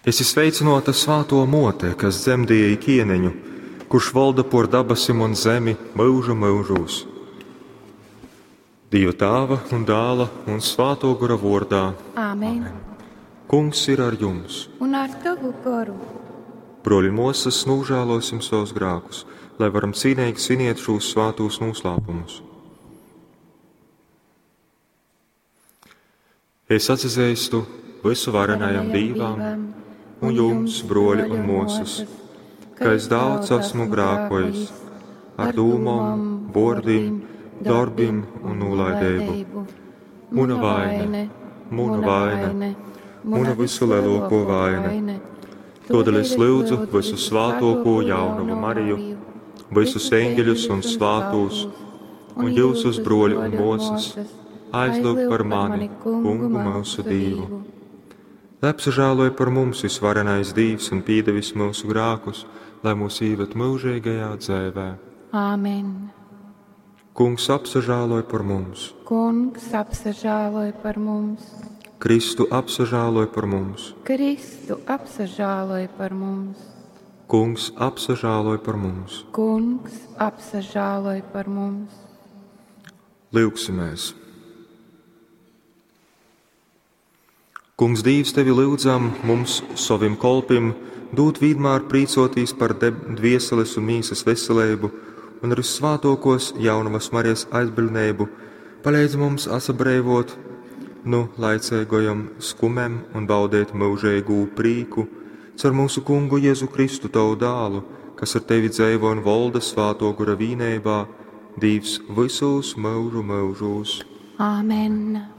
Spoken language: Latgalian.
Esi sveicynōta svātō mōte, kas dzemdieji kieneņu, kurš volda pōr dabasim un zemi myužu myužūs. Dīva Tāva un Dāla un Svātō Gora vōrdā. Āmen. Kungs ir ar jums. Un ar tavu goru. Brōļi un mōsas, nūžālōsim savus grākus, lai varam cīneigi sviniet šūs svātūs nūslāpumus. Es atsazeistu vysuvarenajam Dīvam un jums, brōļi un mōsas, ka es daudz esmu grākojis ar dūmom, vōrdim, dorbim un nūlaideibu. Muna vaine, muna vaine, muna vysulielōkō vaine. Tōdēļ es lyudzu vysu svātōko jaunavu Mariju, visus eņģeļus un svātūs, un jyusus, brōļi un mōsas, aizlyugt par mani, Kungu myusu Dīvu. Lai apsažāloj par mums visvarenais Dīvs un pīdevis myusu grākus, lai mūs īved myužīgajā dzēvē. Āmen. Kungs apsažāloj par mums. Kungs apsažāloj par mums. Kristu apsažāloj par mums. Kristu apsažāloj par mums. Kungs apsažāloj par mums. Kungs apsažāloj par mums. Lyugsimies! Kungs Dīvs, tevi lyudzam, mums, sovim kolpim, dūt vienmēr prīcotīs par dvieseles un mīsas veselību un ar vissvātōkos jaunavas Marijas aizbildneibu paleidz mums atsabrēvot nu laicīgajom skumem un baudēt myužīgū prīku caur mūsu kungu Jēzu Kristu, tavu dālu, kas ar tevi dzeivo un volda svāto gora vīneibā, Dīvs visos myužu myužūs. Āmen.